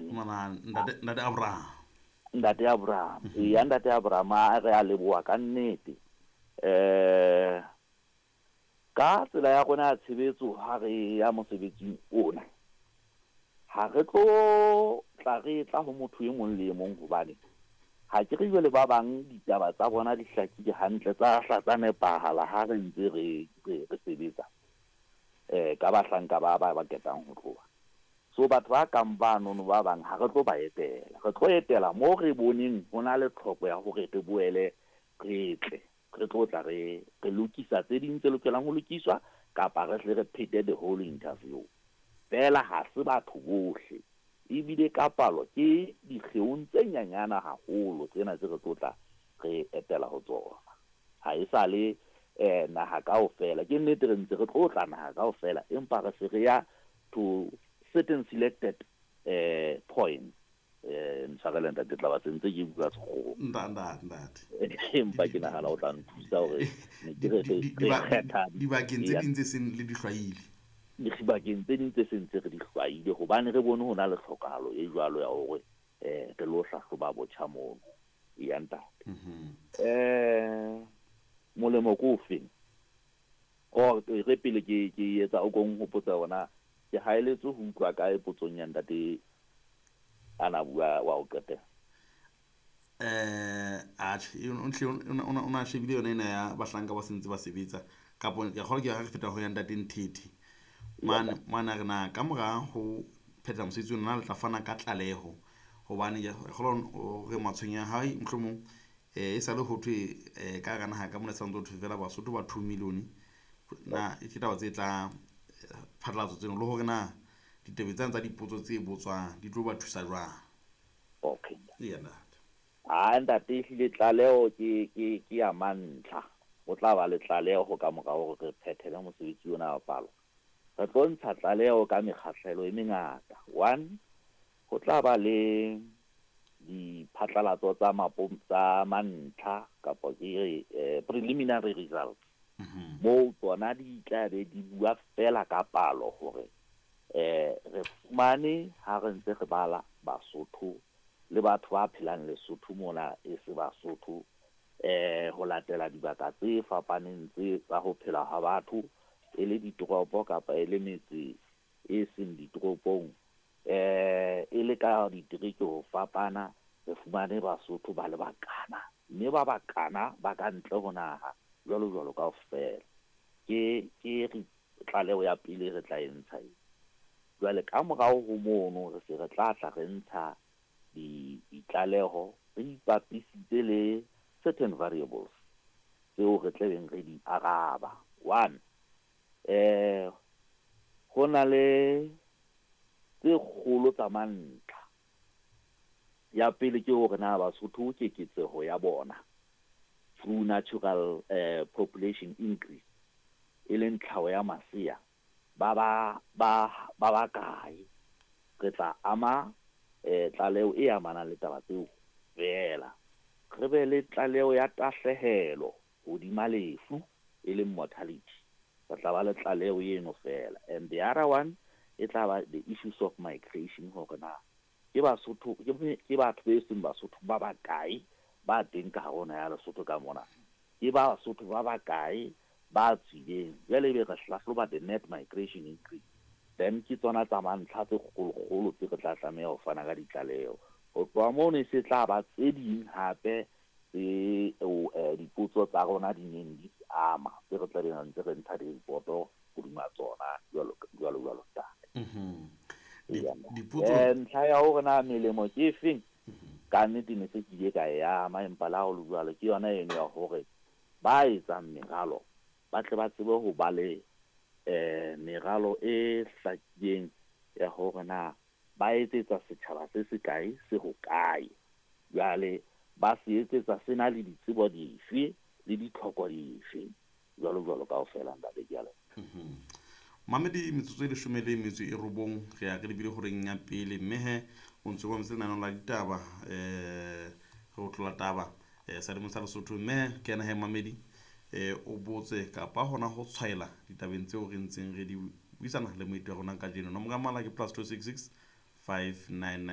Ngwana ntate, ntate Abraham. Ntate Abraham. Eya ntate Abraham a re a leboha ka nnete. Eh ka tsela ya rona ya tshebetso ha re ya mosebetsing ona, ha re tlo tla re tla ho motho e mong le e mong hobane ha ke re jwale ba bang ditaba tsa bona di hlakile hantle tsa hla tsa nepahala ha re ntse re re sebetsa eh ka bahlanka ba ba ba ketang ho tloha. So batho ba kang banono ba bang ha re tlo ba etela. Re tlo etela moo re boneng ho na le tlhoko ya hore re boele re tle. Re tlo tla re re lokisa tse ding tse lokelang ho lokiswa kapa re hle re phete the whole interview. Feela ha se batho bohle. Ebile ka palo ke dikgeong tse nyanyana haholo tsena tse re tlo tla re etela ho tsona. Ha e sa le naha kaofela. Ke nnete re ntse re tlo tla naha kaofela empa re se re ya to certain selected points. Ntshwarele ntate tla ba sentse ke bua Sekgowa. Ntate. Empa ke nahana o tla nthusa hore ne ke re re kgetha dibakeng tse ding tse seng le di hlwaile. Dibakeng tse ding tse seng tse re di hlwaile hobane re bone ho na le tlhokahalo e jwalo ya hore re lo hlahloba botjha mono. Eya ntate. Molemo ke ofeng? Or re pele ke ke etsa o ko nhopotse hore na ke haeletswe ho utlwa kae potsong ya ntate a na bua wa ho qetela. Atjhe, o na shebile yona ena ya bahlanka ba sentse ba sebetsa kapo ke kgolwa ke ha re feta ho ya ntate Nthethe. Mane mane a re na ka mora ho phetha mosebetsi ona na le tla fana ka tlaleho hobane ke kgolwa hore matshwenyeho a hae mohlomong e sale ho thwe ka hara naha ka mona santse ho thwe fela Basotho ba 2 million. Na ke taba tse tla phatlalatso tseno le hore na ditaba tsena tsa dipotso tse botswang di tlo ba thusa jwang. Okay. Eya ntate. Ha ntate ehlile tlaleho ke ke ke ya mantlha. Ho tla ba le tlaleho ka mora hore re phethele mosebetsi ona wa palo. Re tlo ntsha tlaleho ka mekgahlelo e mengata. One, ho tla ba le diphatlalatso tsa mapo tsa mantlha kapa ke re preliminary results. Moo tsona di tla be di bua fela ka palo hore re fumane ha re ntse re bala Basotho le batho ba phelang Lesotho mona e se Basotho ho latela dibaka tse fapaneng tse tsa ho phela ha batho e le ditoropo kapa e le metse e seng ditoropong e le ka ditereke ho fapana re fumane Basotho ba le bakana mme ba bakana ba ka ntle ho naha jwalo jwalo kaofela. Ke ke re tlaleho ya pele re tla e ntsha e. Jwale ka morao ho mono re se re tla tla re ntsha ditlaleho re ipapisitse le certain variables tseo re tlabeng re di araba. One, ho na le tse kgolo tsa mantlha. Ya pele ke hore na Basotho keketseho ya bona through natural population increase e leng tlhaho ya masea ba ba ba ba bakae. Re tla ama tlaleho e amanang le taba tseo feela. Re be le tlaleho ya tahlehelo hodima lefu e leng mortality. Re tla ba le tlaleho eno feela. And the other one e tla ba the issues of migration hore na ke Basotho ke batho be seng Basotho ba bakae ba teng ka hare ho naha ya Lesotho ka mona. Ke Basotho ba bakae ba tswileng. Jwale ebe re hlahloba the net migration increase. Then ke tsona tsa mantlha tse kgolokgolo tse re tla tlameha ho fana ka ditlaleho. Ho tloha mono e se tla ba tse ding hape tse dipotso tsa rona di neng di ama tse re tla beng ntse re ntsha di-report-o hodima tsona jwalo jwalo jwalo ntate. Dipotso Ntlha ya hore na melemo ke efeng ka nnete ne se ke ile ka e ama empa le ha ho le jwalo ke yona eno ya hore ba etsang meralo ba tle ba tsebe ho ba le meralo e hlakileng ya hore na ba etsetsa setjhaba se se kae se hokae. Jwale ba se etsetsa se na le ditsebo dife le ditlhoko dife jwalo jwalo kaofela ntate ke a leboha. Mamedi metsotso e 19 re ya re lebile horeng ya pele mme he o ntse o mametse lenaneo la ditaba re o tlola taba sa sa Lesotho mme ke ena he mamedi o botse kapa hona ho tshwaela ditabeng tseo re ntseng re di buisana le moeti wa rona kajeno. Nomoro ya mohala ke +266 599.